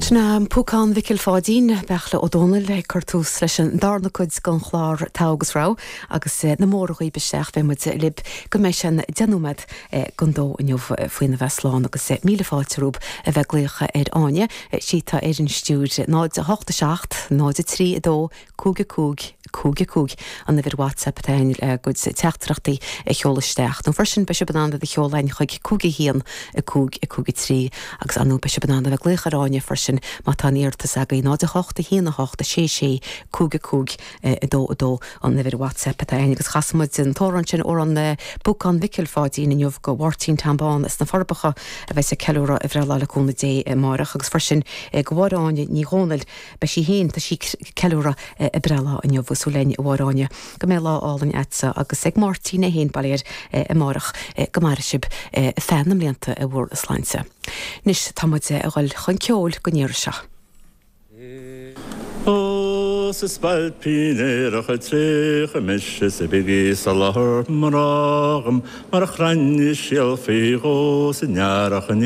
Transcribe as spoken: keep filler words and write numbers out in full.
Sin an Púcán Mhicil Pháidín Beartla Ó Domhnaill ag cur tús leis an darna cuid den chlár Togha agus Rogha agus na móra dhaoibh isteach beidh muid libh go mbeidh sé deich nóiméad don dó inniu faoina bheith slán agus míle fáilte romhaibh a bheith ag glaoch ar Áine sí atá ar an stiúir náid a hocht a seacht náid a trí a dó cúig a cúig cúig a cúig an uimhir WhatsApp atá againn le bhur gcuid teachtaireachtaí a sheoladh isteach. Nó freisin beidh sibh in ann iad a sheoladh chuig cúig a haon a cúig a cúig a trí agus anú beidh sibh in ann a bheith ag glaoch ar Áine freisin má tá aon iarratas agaibh náid a hocht a haon a hocht a sé sé cúig a cúig a dó a dó an uimhir WhatsApp atá againn agus chas muid an t-amhrán sin amhrán Púcán Mhicil Pháidín inniu go Mháirtín Tom Bán sna Forbacha a bheas ag ceiliúradh a bhreithlá le cúnamh Dé amárach agus freisin go Mháire Áine Ní Dhomhnaill beidh sí féin tá sí ag ceiliúradh a breithlá inniu súil linn a Mháire Áine go mbeidh lá álainn agatsa agus ag Máirtín é féin bail air amárach go maire sibh feadh na mblianta i bhur sláinte. Anois tá muid ag dul chun ceoil don iarraidh seo. Ó 's a spailpín aerach a traochadh mise 's bígí soláthar mná dhom mar chrainn is síol faoi dhó san earrach in